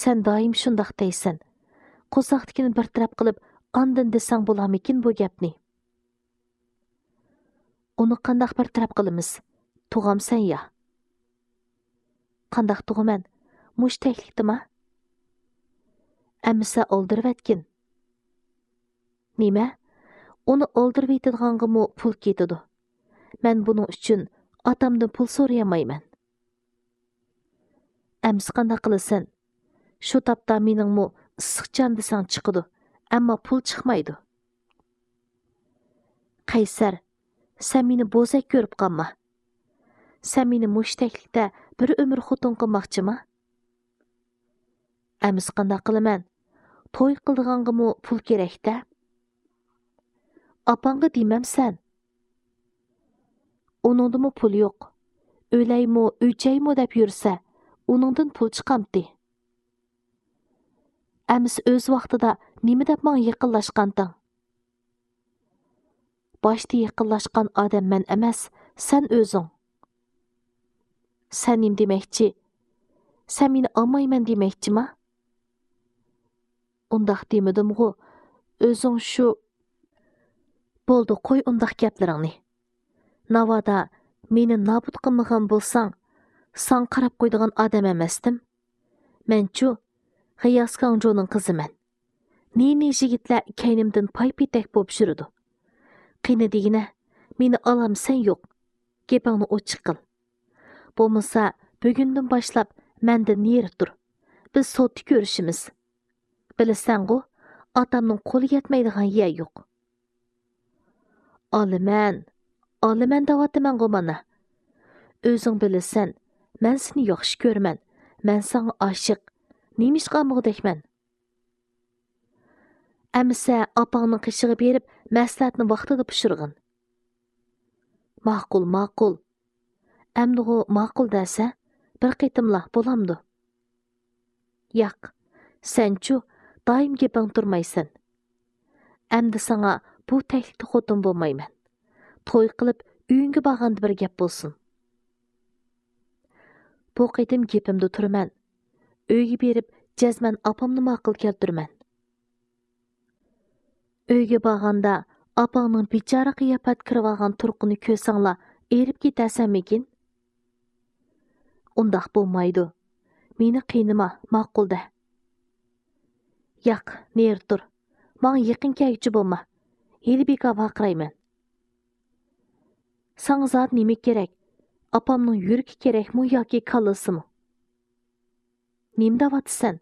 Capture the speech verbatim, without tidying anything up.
سەن دائىم شۇنداق دەيسەن. قورساقتىكىنى بىر تەرەپ قىلىپ، ئاندىن دېسەڭ بولارمىكىن بۇ گەپنى؟ ئۇنى قانداق بىر تەرەپ قىلىمىز؟ تۇغامسەن يا؟ قانداق تۇغىمەن؟ مۇشۇ تەكلىكتىما؟ ئەمىسە ئالدىرىۋەتكىن. نېمە؟ ئۇنى ئالدىرىۋېتىدىغانغىمۇ پۇل كېتىدۇ. مەن بۇنىڭ ئۈچۈن ئاتامدىن پۇل سورىيالمايمەن. ئەمىسە قانداق قىلىسەن؟ شۇ تاپتا مېنىڭمۇ ئىسسىق جان دېسەڭ چىقىدۇ، ئەمما پۇل چىقمايدۇ. قەيسەر، سەن مېنى بوزەك كۆرۈپ قالما. سەن مېنى مۇشۇ تەكلىكتە بىر ئۆمۈر خوتۇن قىلماقچىما؟ ئەمىسە قانداق قىلىمەن؟ توي قىلىدىغانغىمۇ پۇل كېرەك-دە. ئاپاڭغا دېمەمسەن؟ ئۇنىڭدىمۇ پۇل يوق. ئۆلەيمۇ، ئۆچەيمۇ دەپ يۈرسە، ئۇنىڭدىن پۇل چىقامتى؟ ئەمىسە ئۆز ۋاقتىدا نېمە دەپ ماڭا يېقىنلاشقانتىڭ؟ باشتا يېقىنلاشقان ئادەم مەن ئەمەس، سەن ئۆزۈڭ. سەن نېمە دېمەكچى؟ سەن مېنى ئالمايمەن دېمەكچىما؟ ئۇنداق دېمىدىمغۇ؟ ئۆزۈڭ شۇ. بولدى، قوي ئۇنداق گەپلىرىڭنى. ناۋادا مېنى نابۇت قىلمىغان بولساڭ، ساڭا قاراپ قويىدىغان ئادەم ئەمەستىم. مەنچۇ، غىياس كاڭجۇنىڭ قىزىمەن. نى-نى يىگىتلەر كەينىمدىن پاي-پېتەك بولۇپ يۈرىدۇ. قېنى دېگىنە، مېنى ئالامسەن يوق؟ گېپىڭنى ئوچۇق قىل. بولمىسا، بۈگۈندىن باشلاپ مەندىن نېرى تۇر. بىز سوتتا كۆرۈشىمىز. بىلىسەنغۇ، ئاتامنىڭ قولى يەتمەيدىغان يەر يوق. ئالىمەن، ئالىمەن دەۋاتىمەنغۇ مانا. ئۆزۈڭ بىلىسەن، مەن سېنى ياخشى كۆرىمەن، مەن ساڭا ئاشىق. نېمىشقا ئالمىغۇدەكمەن؟ ئەمىسە ئاپاڭنىڭ قېشىغا بېرىپ، مەسلىھەتنى ۋاقتىدا پىشۇرغىن. ماقۇل، ماقۇل. ئەمدىغۇ ماقۇل دەسە، بىر قېتىملا بولامدۇ؟ ياق، سەنچۇ، دائىم گېپىڭ تۇرمايسەن. ئەمدى ساڭا بۇ تەكلىكتە خوتۇن بولمايمەن. توي قىلىپ، ئۆيۈڭگە بارغاندا بىر گەپ بولسۇن. بۇ قېتىم گېپىمدە تۇرىمەن. ئۆيگە بېرىپ، جەزمەن ئاپامنى ماقۇل كەلتۈرىمەن. ئۆيگە بارغاندا، ئاپاڭنىڭ بىچارە قىياپەتتە كىرىۋالغان تۇرقىنى كۆرسەڭلا، ئېرىپ كېتەرسەنمىكىن؟ ئۇنداق بولمايدۇ. مېنى قىينىما، ماقۇل دە. ياق، نېرى تۇر. ماڭا يېقىن كەلگۈچى بولما. ھېلى بىكار ۋارقىرايمەن. ساڭا زادى نېمە كېرەك؟ ئاپامنىڭ يۈرىكى كېرەكمۇ ياكى كاللىسىمۇ؟ نېمە دەۋاتىسەن؟